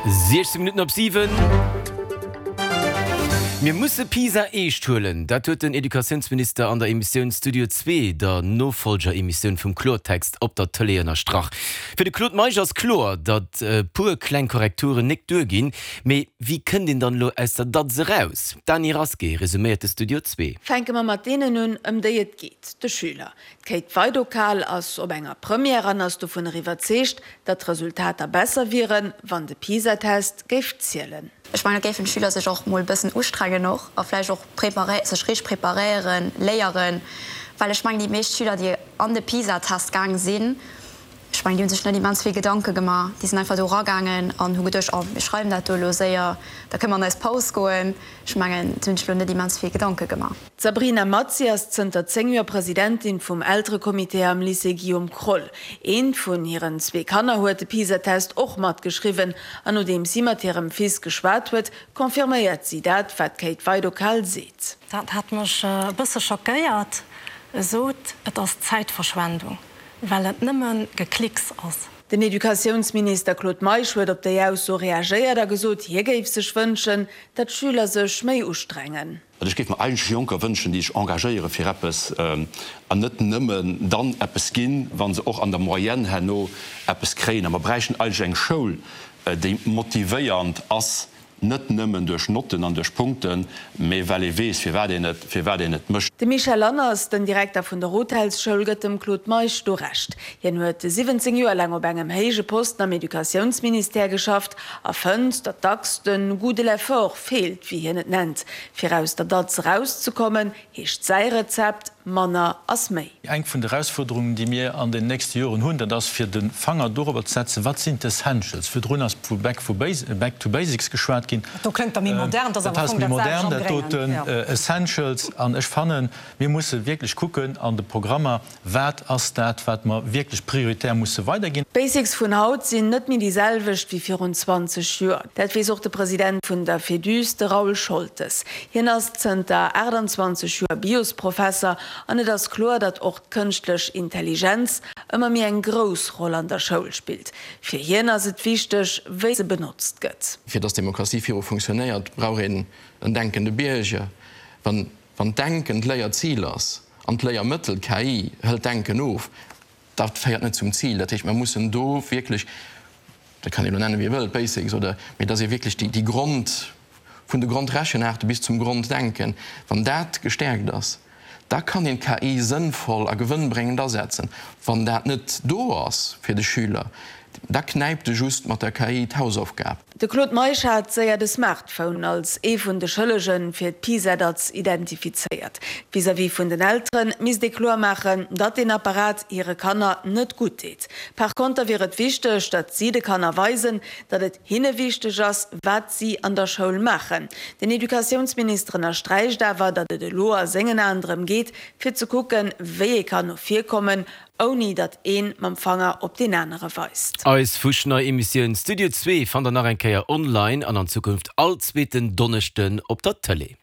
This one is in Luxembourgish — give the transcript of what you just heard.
16 Minutten op 7. Mir musse PISA eescht huelen. Dat huet den Educatiounsminister an der Emissioun Studio Zwee, der Nofollger-Emissioun vum Kloertext op der Tëlee ënnerstrach. Fir de Claude Meisch ass kloer, datt e puer kleng Korrekturen nik duerginn. Mee wéi kënnt een dann elo aus der Datz eraus? D'Dany Rasqué resuméiert de Studio Zwee. Fänke mer mat deenen un, ëm déi et geet, de Schüler. D'Kate Weidokal ass op enger Première an ass dovunner iwwerzeegt, datt d'Resultater besser wieren, wann de PISA-Test géif zielen. Ech mengen, et géifen d'Schüler sech och mol e bëssen ustrengen och a vläicht och preparé sech richteg preparéieren, léieren, well ech mengen, déi meescht Schüler, déi an de PISA-Test gaang sinn, ech mengen, déi hu sech net immens vill Gedanke gemaach. Déi sinn einfach do eragaangen an hu geduecht, oh, mir schreiwen dat do elo séier, da kënne mer an eis Paus goen. Ech mengen, se hunn sech elo net immens vill Gedanke gemaach. D'Sabrina Mazzi ass zënter 10 Joer Presidentin vum Elterecomité am Lycée Guillaume Kroll. Eent vun hiren zwee Kanner huet de PISA-Test och matgeschriwwen an nodeems si mat hirem Fils geschwat huet, confirméiert si dat, wat d'Kate Weidokal seet. Dat hat mech e bësse schockéiert. E sot, et ass Zäitverschwendung, well et nëmme Geklicks ass. Den Educatiounsminister Claude Meisch huet op déi Ausso reagéiert a gesot, hie géif sech wënschen, datt d'Schüler sech méi ustrengen. Well ech géif mer eigentlech Jonker wënschen, déi sech engagéiere fir eppes an net nëmmen dann eppes ginn, wa se och an der Moyenne herno eppes kréien. A mer bräichten eigentlech eng Schoul, déi motivéiernd ass, net nëmmen duerch Notten an duerch Punkten, mee well ee weess, firwat een et, firwat een et mécht. De Michel Lanners, den Direkter vun der Hotelschoul, gëtt dem Claude Meisch do Recht. Hien huet 17 Joer laang op engem héije Posten am Educatiounsministère geschafft a fënnt, datt dacks de Goût de l'effort feelt, wéi hien et nennt. Fir aus der Datz erauszekommen, heescht säi Rezept, Manner ass méi. Eng vun de Erausfuerderungen, déi mir an den nächste Joren hunn, dat ass fir de Fanger dorobber ze setzen, wat sinn d'Essentials. Virdrun ass vu Back to basics geschwat ginn. Dat do klëngt da méi modern, dat ass awer am Fong dat selwecht am Gréngen. Dat doten, Essentials. An ech fannen, mir musse wierklech kucken an de Programmer, Wat ass dat, wat mer wierklech prioritär musse weiderginn? D'Basics vun haut sinn net méi déi selwecht wéi virun 20 Joer. Dat weess och de President vun der Féduse, de Raoul Scholtes. Hien ass zënter 28 Joer Biosprofesser an et ass kloer, datt och d'kënschtlech Intelligenz ëmmer méi eng grouss Roll an der Schoul spillt. Fir hien ass et wichteg, wéi se benotzt gëtt. Fir dass Demokratie viru funktionéiert, brauch een en denkende Bierger. Wann Wann d'Denken d'Léierzil ass an d'Léiermëttel, d'KI, hëlt d'Denken of, dat féiert net zum Zil. Dat heescht, mer mussen do wierklech, dat kann een elo nennen, wéi ee wëllt, Basics oder, mee dass ee wierklech déi Grond, vun de Grondrechenaarte bis zum Gronddenken, wann dat gestäerkt ass, da kann een d'KI sënnvoll a gewënnbréngend asetzen. Wann dat net do ass fir de Schüler, da knäipt e just mat der KI d'Hausaufgab. De Claude Meisch hat séier de Smartphone als ee vun de Schëllege fir d'PISA-Datz identifizéiert. Vis-à-vis vun den Eltere misst ee kloer maachen, datt deen Apparat hire Kanner net gutt deet. Par konter wier et wichteg, datt si de Kanner weisen, datt et hinne wichteg ass, wat si an der Schoul maachen. Den Educatiounsminister ënnersträicht awer, datt et elo a sengen Aen drëm geet, fir ze kucken, wéi ee kann no vir kommen, Ouni datt een mam Fanger op deen anere weist. Eis fuschnei Emissioun Studio Zwee fannt der nach eng Kéier online an an Zukunft all zweeten Donneschden op der Tëlee.